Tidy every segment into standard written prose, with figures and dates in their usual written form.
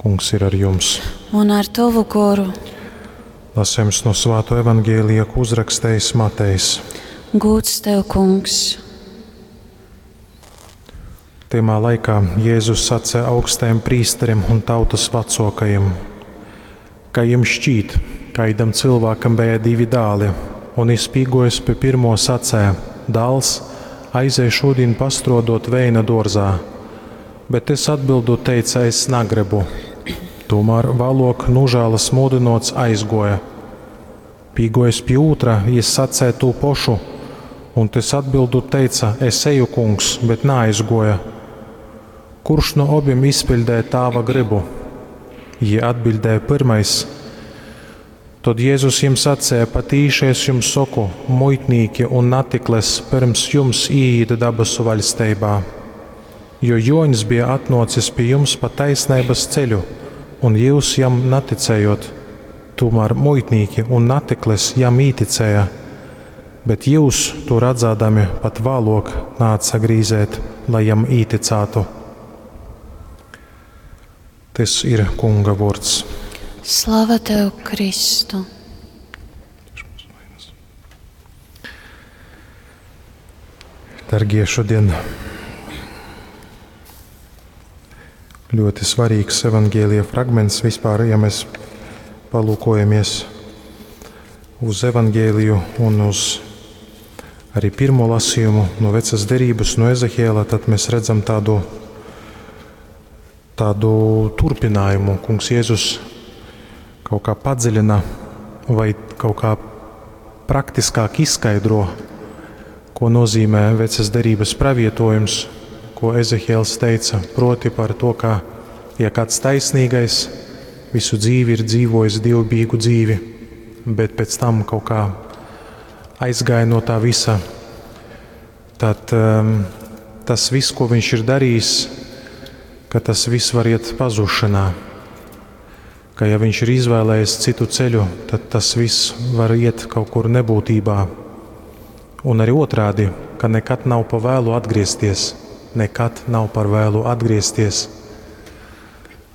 Kungs ir ar jums. Un ar tovu goru. Lasījums no Svāto evaņģēlija, ko uzrakstījis Matejs. Gūds tev, kungs. Tymā laikā Jēzus sacīja augstajam prīsterim un tautas vecākajiem, ka jums šķīt, kaidam cilvēkam bija divi dēli, un izpīgojis pie pirmo sacēja: Dāls, aizej šodien pastrodot veina dārzā, bet es atbildot teica, es negribu. Tomēr vēlāk nožēlas mudinots aizgoja. Pīgojis pie otra, jis sacēja tū pošu, un tas atbildot teica, es eju, kungs, bet neaizgoja. Kurš no abiem izpildīja tāva gribu? Jie atbildēja pirmais. Tad Jēzus jums sacīja, patīši es jums saku, muitnīki un natikles pirms jums ieiet dabasu vaļstībā. Jo Joņs bija atnocis pie jums pa taisnības ceļu, un jūs jam neticējot. Tomēr muitnīki un natikles jam īticēja, bet jūs to redzādami pat vēlāk nāca grīzēt, lai jam īticātu. Tas ir Kunga vārds. Slava tev, Kristu! Dargie, šodien ļoti svarīgs evaņģēlija fragments vispār, ja mēs palūkojamies uz evaņģēliju un uz arī pirmo lasījumu no vecas derības, no Ezehiela, tad mēs redzam tādu, tādu turpinājumu. Kungs Jēzus kaut kā padziļina vai kaut kā praktiskāk izskaidro, ko nozīmē vecas derības pravietojums, ko Ezehiels teica, proti par to, ka ja kāds taisnīgais visu dzīvi ir dzīvojis dievbijīgu dzīvi, bet pēc tam kaut kā aizgāja no tā visa, tad um, tas viss, ko viņš ir darījis, ka tas viss var iet pazušanā. Ka ja viņš ir izvēlējies citu ceļu, tad tas viss var iet kaut kur nebūtībā. Un arī otrādi, ka nekad nav pa vēlu atgriezties, nekad nav par vēlu atgriezties.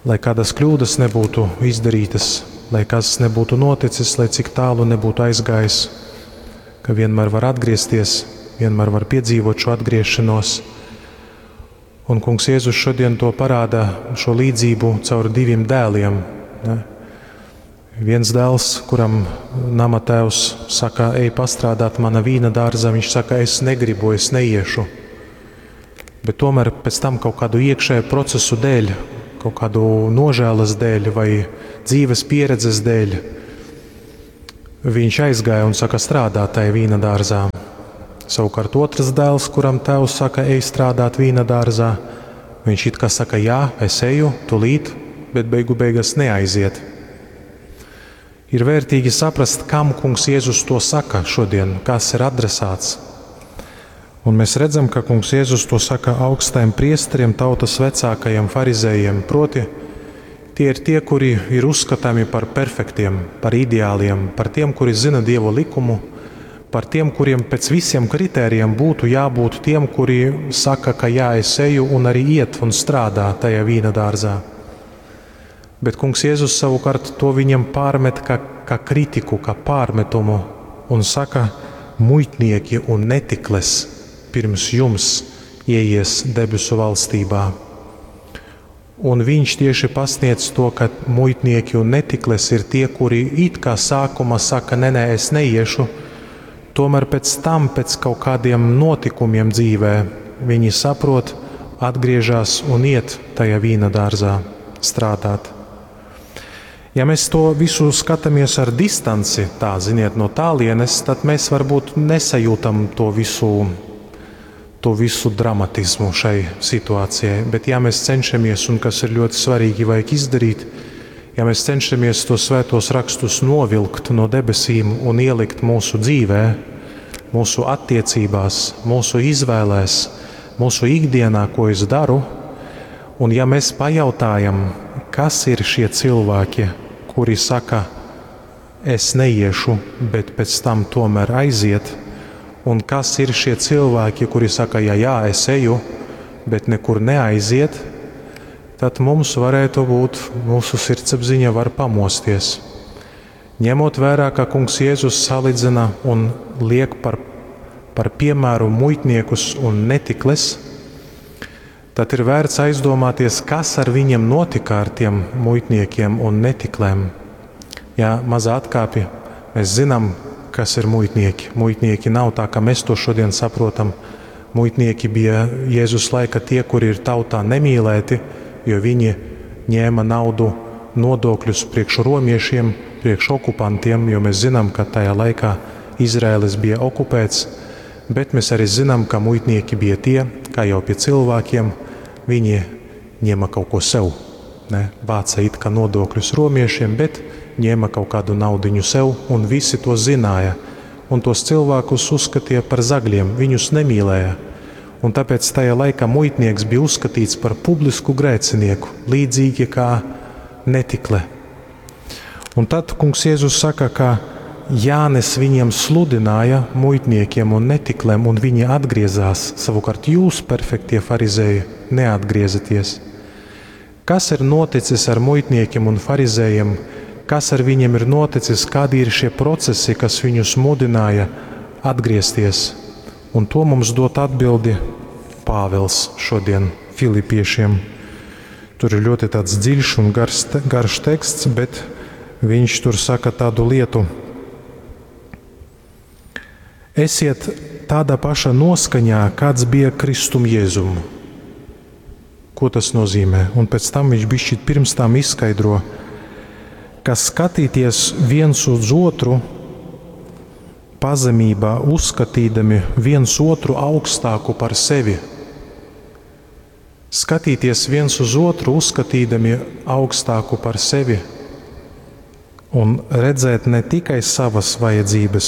Lai kādas kļūdas nebūtu izdarītas, lai kas nebūtu noticis, lai cik tālu nebūtu aizgājis, ka vienmēr var atgriezties, vienmēr var piedzīvot šo atgriešanos. Un Kungs Jēzus šodien to parāda, šo līdzību caur diviem dēliem. Ne? Viens dēls, kuram nama tēvs saka, ej pastrādāt mana vīna dārza, viņš saka, es negribu, es neiešu. Bet tomēr pēc tam kaut kādu iekšēju procesu dēļ, kaut kādu nožēlas dēļ vai dzīves pieredzes dēļ, viņš aizgāja un saka strādāt tajā vīna dārzā. Savukārt otrs dēls, kuram tēvs saka, ej strādāt vīna dārzā, viņš it kā saka, jā, es eju, tūlīt, bet beigu beigās neaiziet. Ir vērtīgi saprast, kam Kungs Jēzus to saka šodien, kas ir adresāts. Un mēs redzam, ka Kungs Jēzus to saka augstajiem priesteriem, tautas vecākajiem farizējiem. Proti, tie ir tie, kuri ir uzskatāmi par perfektiem, par ideāliem, par tiem, kuri zina Dievu likumu, par tiem, kuriem pēc visiem kritērijiem būtu jābūt tiem, kuri saka, ka jā, es eju un arī iet un strādā tajā vīna dārzā. Bet Kungs Jēzus savukārt to viņiem pārmet kā, kā kritiku, kā pārmetumu un saka, muitnieki un netikles pirms jums ieies debesu valstībā. Un viņš tieši pasniedz to, ka muitnieki un netikles ir tie, kuri it kā sākumā saka, nē, nē, es neiešu, tomēr pēc tam, pēc kaut kādiem notikumiem dzīvē, viņi saprot, atgriežas un iet tajā vīna dārzā strādāt. Ja mēs to visu skatāmies ar distanci, tā ziniet, no tālienes, tad mēs varbūt nesajūtam to visu, to visu dramatismu šai situācijai. Bet ja mēs cenšamies, un kas ir ļoti svarīgi, vajag izdarīt, ja mēs cenšamies tos svētos rakstus novilkt no debesīm un ielikt mūsu dzīvē, mūsu attiecībās, mūsu izvēlēs, mūsu ikdienā, ko es daru, un ja mēs pajautājam, kas ir šie cilvēki, kuri saka, es neiešu, bet pēc tam tomēr aiziet, un kas ir šie cilvēki, kuri saka, jā, jā, es eju, bet nekur neaiziet, Tad mums varētu būt, mūsu sirdsapziņa var pamosties. Ņemot vērā, ka Kungs Jēzus salīdzina un liek par piemēru muitniekus un netikles, tad ir vērts aizdomāties, kas ar viņiem notika, ar tiem muitniekiem un netiklēm. Jā, maza atkāpja, mēs zinām, kas ir muitnieki. Muitnieki nav tā, kā mēs to šodien saprotam. Muitnieki bija Jēzus laika tie, kuri ir tautā nemīlēti, jo viņi ņēma naudu nodokļus priekš romiešiem, priekš okupantiem, jo mēs zinām, ka tajā laikā Izraēlis bija okupēts, bet mēs arī zinām, ka muitnieki bija tie, kā jau pie cilvēkiem, viņi ņēma kaut ko sev. Ne? Vāca it kā nodokļus romiešiem, bet ņēma kaut kādu naudiņu sev, un visi to zināja. Un tos cilvēkus uzskatīja par zagļiem, viņus nemīlēja. Un tāpēc tajā laikā muitnieks bija uzskatīts par publisku grēcinieku, līdzīgi kā netikle. Un tad Kungs Jēzus saka, ka Jānis viņiem sludināja, muitniekiem un netiklēm, un viņi atgriezās. Savukārt jūs, perfektie farizēji, neatgriezaties. Kas ir noticis ar muitniekiem un farizējiem? Kas ar viņiem ir noticis? Kādi ir šie procesi, kas viņus mudināja atgriezties? Un to mums dot atbildi Pāvils šodien Filipiešiem. Tur ir ļoti tāds dziļš un garš teksts, bet viņš tur saka tādu lietu. Esiet tādā pašā noskaņā, kāds bija Kristum Jēzum. Ko tas nozīmē? Un pēc tam viņš bišķīt pirms tam izskaidro, ka skatīties viens uz otru pazemībā, uzskatīdami viens otru augstāku par sevi. Skatīties viens uz otru, uzskatīdami augstāku par sevi un redzēt ne tikai savas vajadzības,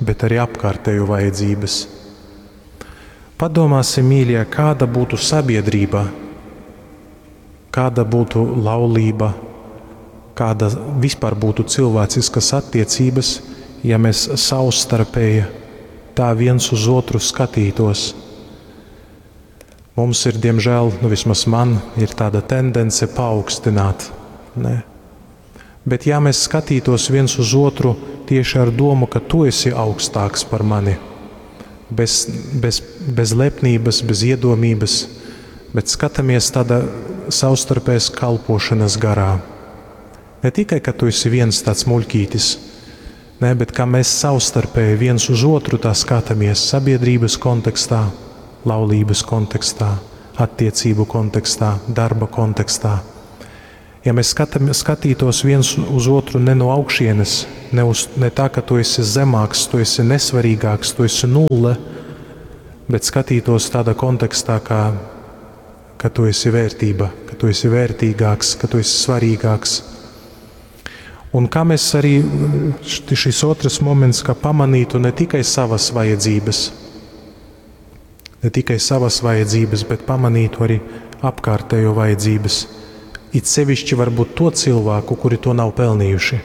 bet arī apkārtējo vajadzības. Padomāsim, mīļie, kāda būtu sabiedrība, kāda būtu laulība, kāda vispār būtu cilvēciskas attiecības, ja mēs savstarpēji tā viens uz otru skatītos. Mums ir, diemžēl, nu vismaz man ir tāda tendence paaugstināt. Ne? Bet ja mēs skatītos viens uz otru tieši ar domu, ka tu esi augstāks par mani, bez lepnības, bez iedomības, bet skatāmies tādā savstarpējas kalpošanas garā. Ne tikai, ka tu esi viens tāds muļķītis, ne, bet kā mēs savstarpēji viens uz otru tā skatāmies sabiedrības kontekstā, laulības kontekstā, attiecību kontekstā, darba kontekstā. Ja mēs skatītos viens uz otru ne no augšienes, ne tā, ka tu esi zemāks, tu esi nesvarīgāks, tu esi nulle, bet skatītos tādā kontekstā, ka tu esi vērtība, ka tu esi vērtīgāks, ka tu esi svarīgāks. Un kā mēs arī, šis otrs moments, ka pamanītu ne tikai savas vajadzības, ne tikai savas vajadzības, bet pamanītu arī apkārtējo vajadzības. It sevišķi varbūt to cilvēku, kuri to nav pelnījuši.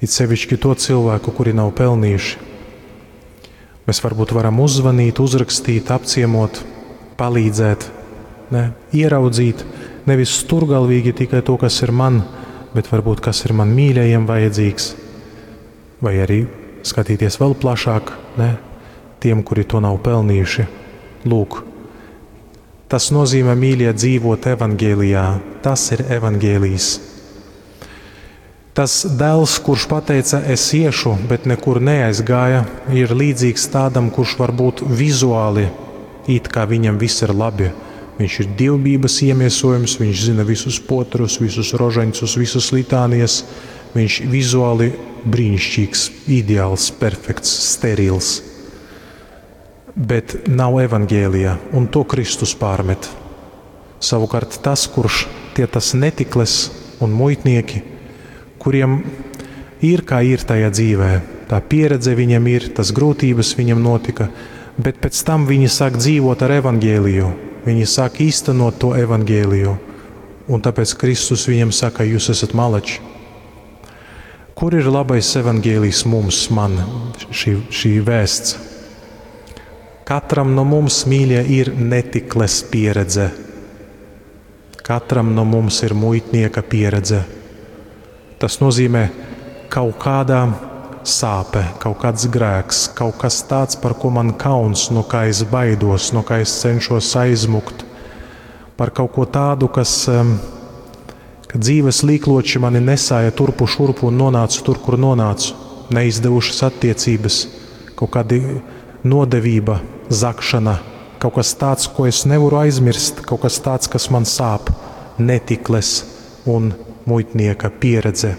It sevišķi to cilvēku, kuri nav pelnījuši. Mēs varbūt varam uzzvanīt, uzrakstīt, apciemot, palīdzēt, ne? Ieraudzīt, nevis stūrgalvīgi tikai to, kas ir man, bet varbūt kas ir man mīļajiem vajadzīgs, vai arī skatīties vēl plašāk, ne? Tiem, kuri to nav pelnījuši. Lūk, tas nozīmē, mīļie, dzīvot evangelijā. Tas ir evangelijs. Tas dēls, kurš pateica, es iešu, bet nekur neaizgāja, ir līdzīgs tādam, kurš varbūt vizuāli it kā viņam viss ir labi. Viņš ir dievbijības iemiesojums, viņš zina visus potrus, visus rožaņcus, visas litānijas. Viņš vizuāli brīnišķīgs, ideāls, perfekts, sterils. Bet nav evangēlijā, un to Kristus pārmet. Savukārt tas, kurš tie tas netikles un muitnieki, kuriem ir kā ir tajā dzīvē, tā pieredze viņam ir, tas grūtības viņam notika, bet pēc tam viņi sāk dzīvot ar evangēliju, viņi sāk īstenot to evangēliju, un tāpēc Kristus viņam saka, jūs esat malači. Kur ir labais evangēlijs mums, man, šī vēsts? Katram no mums, mīļie, ir netikles pieredze. Katram no mums ir muitnieka pieredze. Tas nozīmē kaut kādā sāpe, kaut kāds grēks, kaut kas tāds, par ko man kauns, no kā es baidos, no kā es cenšos aizmukt, par kaut ko tādu, kas, ka dzīves līkloči mani nesāja turpu šurpu un nonācu tur, kur nonācu, neizdevušas attiecības, kaut kādi nodevība, zakšana, kaut kas tāds, ko es nevaru aizmirst, kaut kas tāds, kas man sāp, netikles un muitnieka pieredze.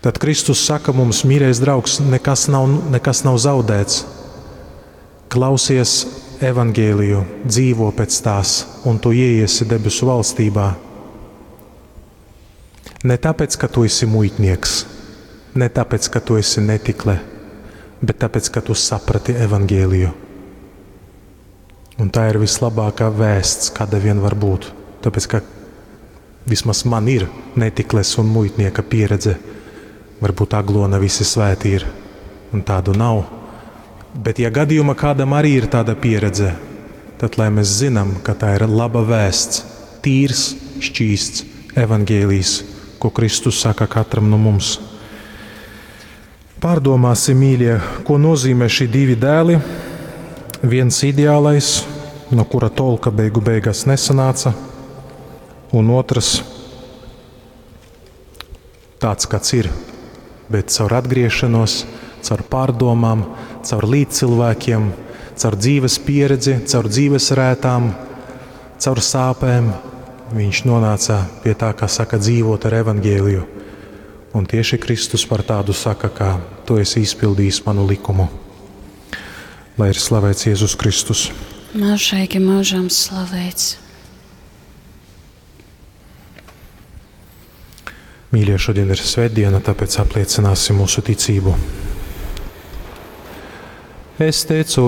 Tad Kristus saka mums, mīļais draugs, nekas nav, nekas nav zaudēts. Klausies evangēliju, dzīvo pēc tās, un tu ieiesi debesu valstībā. Ne tāpēc, ka tu esi muitnieks, ne tāpēc, ka tu esi netikle, bet tāpēc, ka tu saprati evangēliju. Un tā ir vislabākā vēsts, kāda vien var būt. Tāpēc, ka vismaz man ir netikles un muitnieka pieredze. Varbūt Aglona visi svēti ir, un tādu nav. Bet, ja gadījumā kādam arī ir tāda pieredze, tad lai mēs zinām, ka tā ir laba vēsts, tīrs, šķīsts evangēlijs, ko Kristus saka katram no mums. Pārdomāsim, mīļie, ko nozīmē šie divi dēli. Viens ideālais, no kura tolka beigu beigās nesanāca, un otrs tāds, kāds ir, bet caur atgriešanos, caur pārdomām, caur līdzcilvēkiem, caur dzīves pieredzi, caur dzīves rētām, caur sāpēm, viņš nonāca pie tā, kā saka, dzīvot ar evangēliju. Un tieši Kristus par tādu saka, ka tu esi izpildījis manu likumu. Lai ir slavēts Jēzus Kristus. Mūžīgi mūžam slavēts. Mīļie, šodien ir svētdiena, tāpēc apliecināsim mūsu ticību. Es ticu